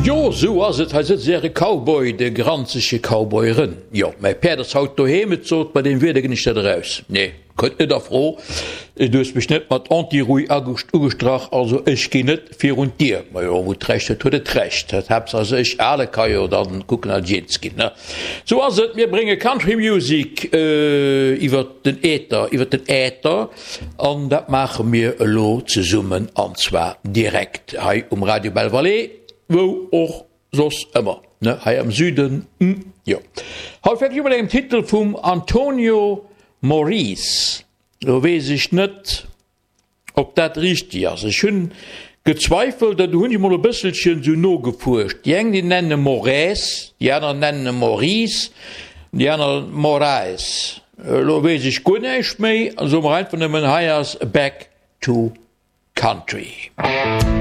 Jo, sou ass et, hei sëtzt äre Cowboy, de granzege Cowboy Rën. Jo, mäi Päerd ass haut doheem, et sot, bei deem Wieder ginn ech net eraus. Nee, kënnt net a Fro, du hues mech net mat Antirouille ugestrach, also ech ginn net virun d'Dier. Majo, wou d'Recht huet, huet et Recht. Haaptsaach ech ale ka jo dann kucken, datt ech eens ginn, ne? Sou ass et, mir brénge Country Music iwwert den Äther, iwwert den Äther. An dat maache mir elo zesummen, an zwar direkt hei um Radio Belle Vallée, wou och soss ëmmer, ne, hei am Süden, jo. Haut fänke ech u mat engem Titel vum Antonio Maurice. Elo weess ech net, ob dat richteg ass. Ech hunn gezweifelt an du hunn ech mol e bësselchen sou nogefuerscht. Déi eng, déi nennen e Moraes, déi aner nennen e Maurice, déi aner Moraes. Elo weess ech guer näischt méi, soe mer einfach nëmmen, hei ass Back to Country.